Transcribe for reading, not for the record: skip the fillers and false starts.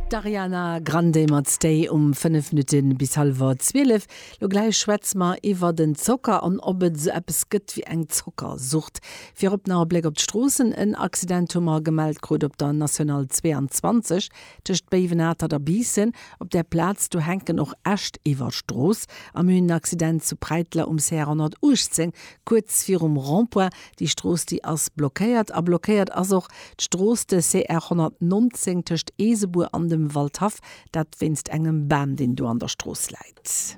D'Ariana Grande mat Stay um 5 Minutte bis hallwer 12. Lo gläich schwätze mer iwwer den Zocker an ob et esou eppes gëtt wéi eng Zockersucht. Virop nach e Bléck op d'Stroossen. En Accident hu mer gemellt krut op der National 22 tëscht Béiwen-Atert a Biissen. Op där Plaz do hänken och Äscht iwwer d'Strooss. A mir hunn en Accident zu Präiteler um CR 118, kuerz virum Rond-point. Déi Strooss déi ass blockéiert. A blockéiert ass och d'Strooss de CR 119 tëscht Eesebuer an dem Waldhaff, dat wéinst engem Bam deen do an der Strooss läit.